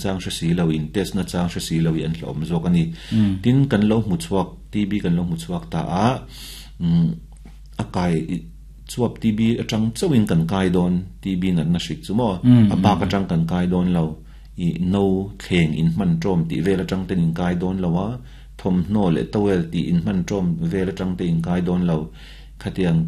chang hre si lo, in test na chang hre si lo hi an hlauhawm zawk a ni. Tin, kan lo hmu chhuak, TB kan lo hmu chhuak ta a, a kai chuap TB atang chauhin kan kai dawn, TB natna hrik chu maw, a bak atang kan kai dawn lo, i no thleng in hman tawm tih vel atang ten in kai dawn lo a, thawmhnaw leh towel tih in hman tawm vel atang te in kai dawn lo, khatiang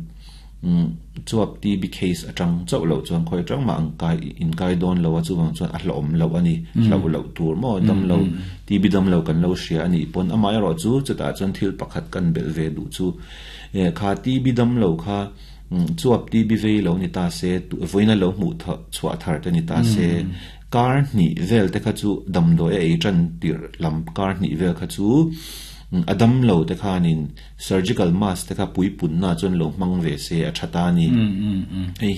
chuap TB case atang chauh loh chuan khawi atang mah ang kai in kai dawn lo a, chuvang chuan a hlauhawm loh a ni, hlauh loh tur maw, dam lo TB dam lo kan lo hria a nih pawn. Amaherawh chu chutah chuan thil pakhat kan belh ve duh chu, kha TB dam lo kha chuap TB vei lo ni ta se, vawiina lo hmuh chhuah thar te ni ta se, kar hnih vel te kha chu damdawi a ei tan tirh lam kar hnih vel kha chu a dam lo te khanin surgical mask te kha puipunna chuan lo hmang ve se a tha ta a ni. Hei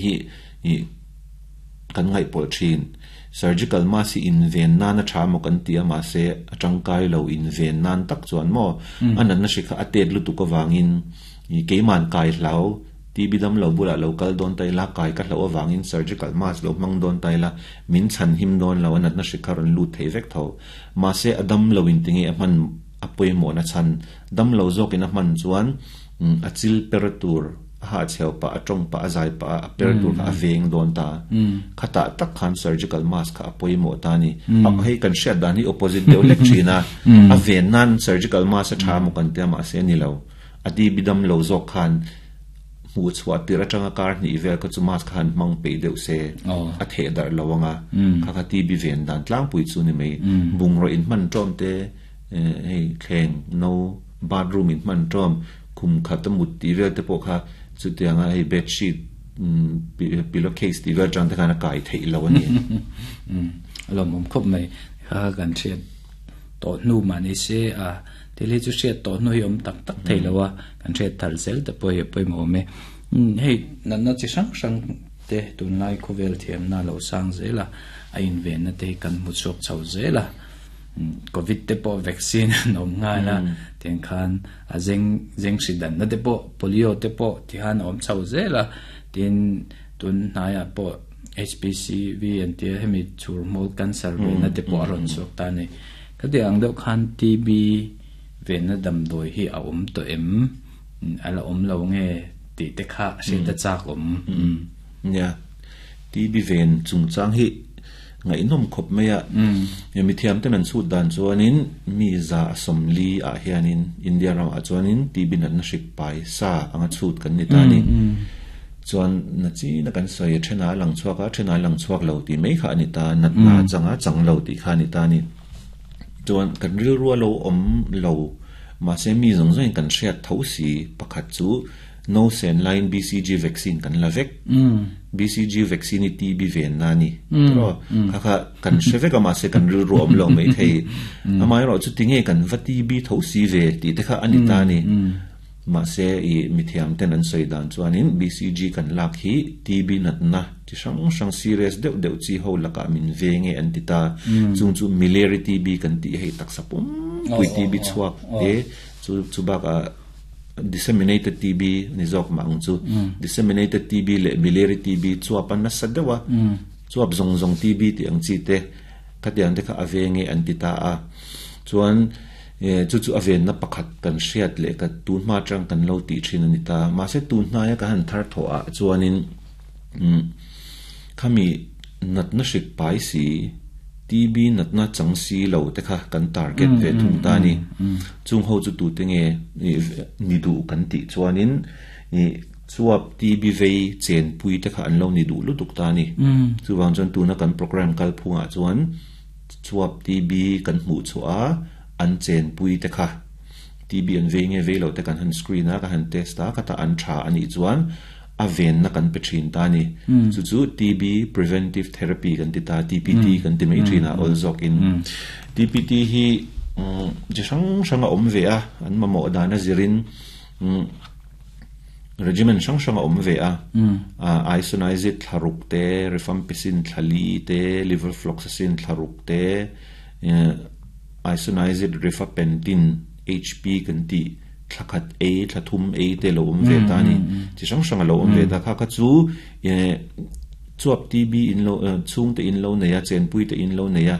hi kan ngaihpawlh thin. Surgical mask hi inven nan a tha maw kan ti a, mahse a tangkai lo inven nan tak chuan maw a natna hri kha a tet lutuk avangin keiman kai hlau TB dam lo bulah lo kal dawn ta ila, kai ka hlauh avangin surgical mask lo hmang dawn ta ila, min chhan him dawn lo, a natna hri kha rawn lut thei vek tho. Mahse a dam lo in tinge a hman a pawimawhna chhan, dam lo zawkin a hman chuan a chil per tur, a hahchheu pah, a tawng pah, a zai pah a per tur kha a veng dawn ta. Khatah tak khan surgical mask kha a pawimawh ta a ni. Hei kan hriat dan hi opposite deuh hlek thin a, a ven nan surgical mask a tha maw kan tia, mahse a ni lo. A TB dam lo zawk khan hmuh chhuah tirh atanga kar hnih vel kha chu mask kha han hmang peih deuh se a theh darh lo ang a, kha kha TB ven dan tlangpui chu ni mai. Bungraw inhman tawm te, hei thleng no, bathroom inhman tawm, khum khat a mut tih vel te pawh kha chutianga hei bedsheet, pillow case tih vel atang te khan a kai theih lo a ni. A lawmawm khawp mai. Kha kan hriat tawh hnu mah ni se a thil hi chu hriat tawh hnu hi awm tak tak thei lo a, kan hriat thar zel te pawh hi a pawimawh awm e. Hei natna chi hrang hrang te tunlai khawvel thiamna a lo sang zel a, a invenna te hi kan hmu chhuak chho zel a, Covid te pawh vaccine an awm nghal a, tiang khan a zeng zeng hri danna te pawh polio te pawh tikhan a awm chho zel a, tin tun hnaiah pawh HPCV an tia hemi chhur hmul cancer venna te pawh a rawn chhuak ta a ni. Khati ang deuh khan TB venna damdawi hi a awm tawh em? A la awm lo nge tih te kha hriat a chak awm. Nia, TB ven chungchang hi ngaihnawm khawp mai a. Mithiam ten an chhut dan chuanin mi 140 ah hianin India ramah chuanin TB natna hrik pai sa anga chhut kan ni ta a ni. Chuan na china kan sawi a thenah a lang chhuak a, a thenah a lang chhuak lo tih mai kha a ni ta, natna a chang a chang lo tih kha a ni ta a ni. Chuan kan rilru a lo awm lo, mahse mi zawng zawngin kan hriat tho si pakhat chu no sen laiin BCG vaccine kan la vek. BCG vaccine hi TB venna a ni tiraw? Kha kha kan hre vek a mahse kan rilru a awm lo maithei. Amaherawh chu tinge kan va TB tho si ve tih te kha a ni ta a ni. Mahse, i mithiam ten an sawi dan chuanin BCG kan lak hi TB natna chi hrang hrang serious deuh deuh chi ho lakah min ve nge an ti ta. Chung chu miliary TB kan tih hei taksa pumpui TB chhuak te chu chu bakah disseminated TB ni zawk mah ang chu. Disseminated TB leh miliary TB chuap a nasa deuh a, chuap zawng zawng TB tih ang chi te khatiang te kha a ve nge an ti ta a. Chuan Chu chu a venna pakhat kan hriat leh ka tun hma atang kan lo tih thin a ni ta. Mahse tun hnaia ka han thar thawh ah chuanin khami natna hrik pai si, TB natna chang si lo te kha kan target ve thung ta a ni. Chung ho chu tute nge ni duh kan tih chuanin chuap TB vei chenpui te kha an lo ni duh lutuk ta a ni. Chuvang chuan tuna kan program kalphungah chuan Chuap TB kan hmuh chhuah a, an chenpui te kha TB an vei nge vei lo te kan han screen a, kan han test a, khatah an tha a nih chuan a venna kan pe thin ta a ni. Chu chu TB preventive therapy kan ti ta, TPT kan ti mai thin a, awl zawkin. TPT hi chi hrang hrang a awm ve a, an mamawh dan a zirin. Regiment hrang hrang a awm ve a, isoniazid thla ruk te, rifampicin thla li te, levofloxacin thla ruk te, isoniazid rifapentin HP kan tih thla khat ei, thla thum ei te lo awm ve ta a ni. Chi hrang hrang a lo awm ve ta. Kha kha chu chuap TB in lo chhungte in lo nei a, chenpui te in lo nei a.